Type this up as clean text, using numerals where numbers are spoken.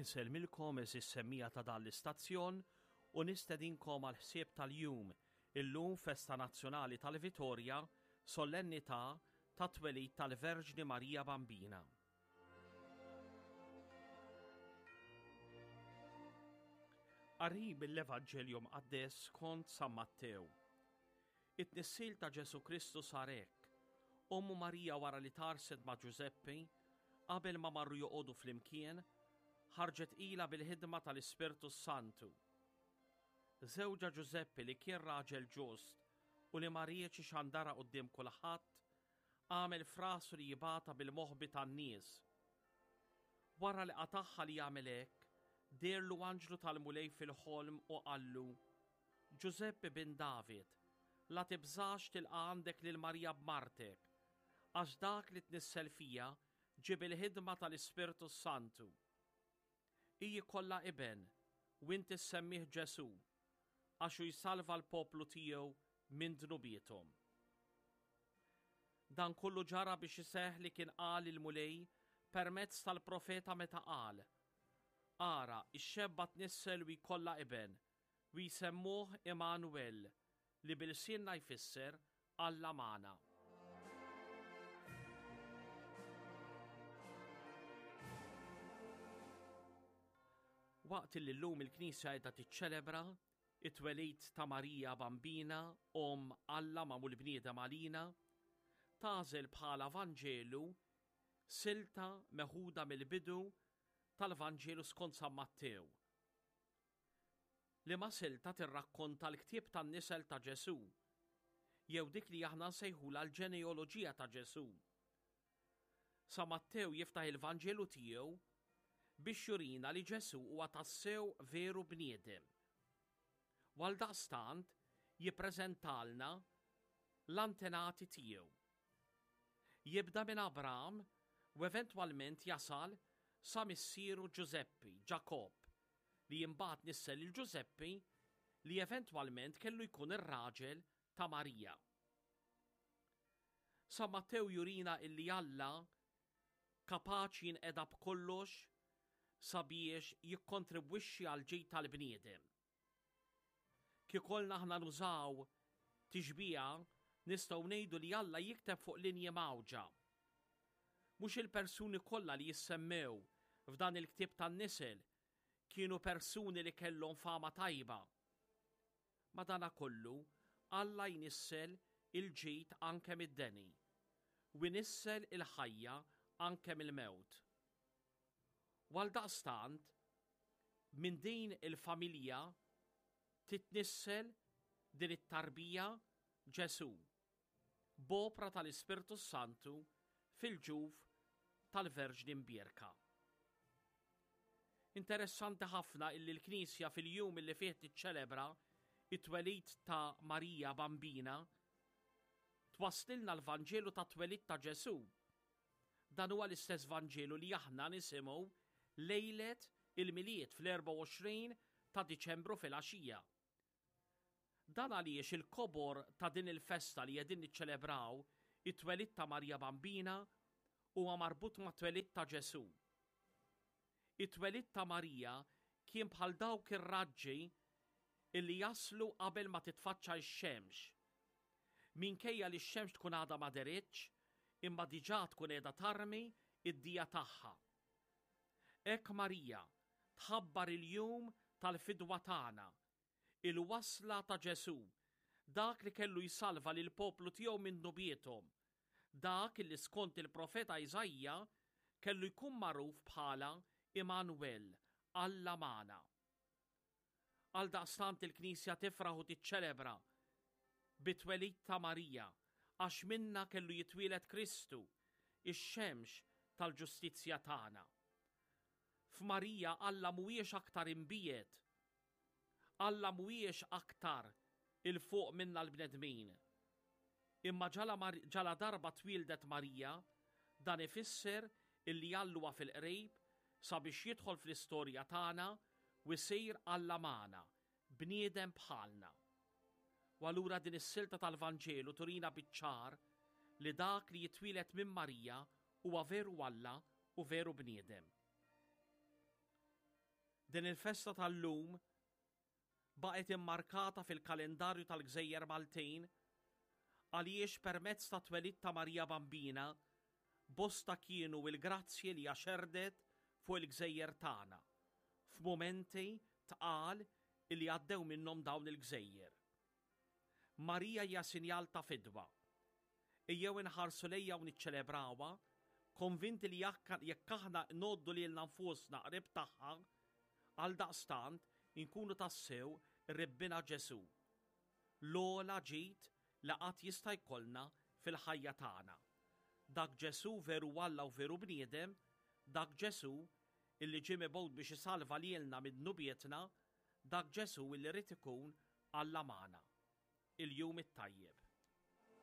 Insellmilkom għeżież semmiegħa ta' dan l-istazzjon u nistedinkom għall-ħsieb tal-jum, illum festa nazzjonali tal-Vitorja, solennità tat-twelid tal-Verġni Marija Bambina. Qari mill-Evanġelju Mqaddes skont San Mattew. It-tnissil ta' Ġesù Kristu sar hekk, Ommu Marija wara li tgħarrset ma' Ġużeppi, qabel ma marru joqogħdu flimkien, ħarġet tqila bil-ħidma tal-Ispirtu s-Santu. Żewġha Ġużeppi li kien raġel ġust u li ma riedx ixandarha quddiem kulħadd, għamel f'rasu li jibgħatha bil-moħbi tan-nies. Wara li qatagħha li jagħmel hekk, deherlu anġlu tal-Mulej fil-ħolm u qallu, Ġużeppi bin David, la tibżax tilqa' għandek lil Marija b'martek, għax dak li tnissel fiha ġie bil-ħidma tal-Ispirtu s-Santu. Hi jkollha iben, u inti ssemmih Ġesù, għax hu jsalva l-poplu tiegħu minn dnubiethom. Dan kollu ġara biex iseħħ li kien qal il-Mulej permezz tal-profeta meta qal, Ara, ix-xebba tnissel u jkollha iben, u jsemmuh Immanuel, li bi lsienna jfisser Alla magħna. Waqt li llum il-Knisja qiegħda tiċċelebra it-twelid ta' Marija Bambina, Omm Alla magħmul bniedem għalina, tagħżel bħala Vanġelu silta meħuda mill-bidu tal-Vanġelu skont San Mattew. Liema silta tirrakkonta l-ktieb tan-nisel ta' Ġesù, jew dik li aħna nsejħulha l-ġeneoloġija ta' Ġesù. Sa Mattew jiftaħ il-Vanġelu tiegħu biex jurina li Ġesù huwa tassew veru bniedem. U għaldaqstant jippreżentalna l-antenati tiegħu. Jibda minn Abram u eventwalment jasal sa missieru Ġużeppi, Ġakobb, li imbagħad nissel lil Ġużeppi li eventwalment kellu jkun ir-raġel ta' Marija. San Mattew jurina illi Alla kapaċi jinqeda b'kollox sabiex jikkontribwixxi għall-ġid tal-bniedem. Kiekolna aħna nużaw tixbiha nistgħu ngħidu li Alla jikteb fuq linji mgħawġa. Mhux il-persuni kollha li jissemmew f'dan il-ktieb tan-nisel kienu persuni li kellhom fama tajba. Madanakollu, Alla jnissel il-ġid anke mid-deni, u jnissel il-ħajja anke mill-mewt. U għaldaqstant, minn din il-familja titnissel din it-tarbija Ġesù, b'opra tal-Ispirtu s-Santu fil-ġuf tal-Verġni Mbierka. Interessanti ħafna illi l-Knisja fil-jum illi fih tiċċelebra it-twelid ta' Marija Bambina twasslilna l-Vanġelu tat-twelid ta' Ġesù Dan huwa l-istess Vanġelu li aħna nisimgħu lejlet il-Milied fl-24 ta' Diċembru filgħaxija. Dan għaliex il-kobor ta' din il-festa li qegħdin niċċelebraw it-twelid ta' Marija Bambina huwa marbut mat-twelid ta' Ġesù. It-twelid ta' Marija kien bħal dawk ir-raġġi illi jaslu qabel ma titfaċċa x-xemx. Minkejja li x-xemx tkun għadha ma deritx, imma diġà tkun qiegħda tarmi d-dija tagħha. Hekk Marija tħabbar il-jum tal-fidwa tagħna, il-wasla ta' Ġesù, dak li kellu jsalva lill-poplu tiegħu minn dnubiethom, dak li skont il-profeta Iżaija kellu jkun magħruf bħala Immanuel, Alla magħna. Għaldaqstant il-Knisja tifraħ u tiċċelebra bit-twelid ta' Marija, għax minnha kellu jitwieled Kristu, ix-xemx tal-ġustizzja tagħna. F'Marija Alla mhuwiex aktar imbiegħed. Alla mhuwiex aktar 'il fuq minna l-bnedmin. Imma ġaladarba twieldet Marija, dan ifisser illi Alla huwa fil-qrib sabiex jidħol fl-istorja tagħna u jsir Alla magħna, bniedem bħalna. U allura din is-silta tal-Vanġelu turina biċ-ċar li dak li jitwieled minn Marija huwa veru Alla u veru bniedem. Din il-festa tal-lum baqgħet immarkata fil-kalendarju tal-Gżejjer Maltin għaliex permezz tat-twelid ta' Marija Bambina bosta kienu l-grazzji li hija xerrdet fuq il-gżejjer tagħna f'mumenti tqal illi għaddew minnhom dawn il-gżejjer. Marija hija sinjal ta' fidwa. Ejjew inħarsu lejha u niċċelebrawha, konvinti li jekk aħna ngħoddu lilna nfusna qrib tagħha, għaldaqstant inkunu tassew qrib Binha Ġesù, l-ogħla ġid li qatt jista' jkollna fil-ħajja tagħna. Dak Ġesù veru Alla u veru bniedem, dak Ġesù illi ġie mibgħut biex isalva lilna minn dnubietna, dak Ġesù illi ried ikun Alla magħna. Il-Jum it-Tajjeb.